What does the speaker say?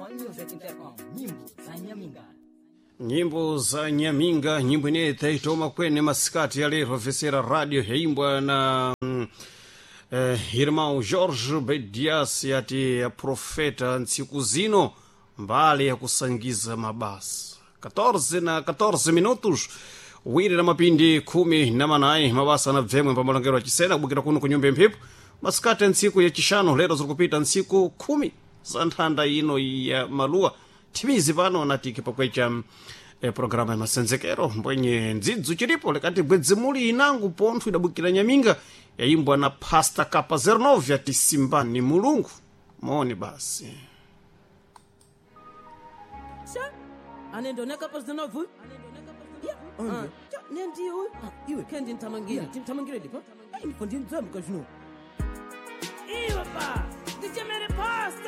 Swan Music Intercom, nyimbo za Nyaminga. Nyimbo za Nyaminga, nyimbo ineyi taitoma kwene masikati ya lero vesera radio yaimbwa na irmão Jorge Bedias yati ya profeta ntsiku zino mbali ya kusangiza mabasa 14 na 14 minutos wiri na mapindi 18 mabasa na bvemwe pamalongero achisena kubukira kuno kunyumba imphepo masikati ya ntsiku yachishanu lero zirikupita ntsiku 10 za nthanda ino ya maluwa thimizi pano natiki pakwecha programa ya masenzekero mbwenye ndzidzu chilipo likati bwedzimuli inangu pontho idabukira Nyaminga yayimbwa na Pasta Kapa 09 yati simbani mulungu moni basi. Sha, anendoneka pasinovu. Ya, cha, nendiyo uyu. Iwe. Kendi ntamangire. Timthamangire lipa? Ayi ndifo ndindzamka zvino. Iwe pa, ndichemere pasta.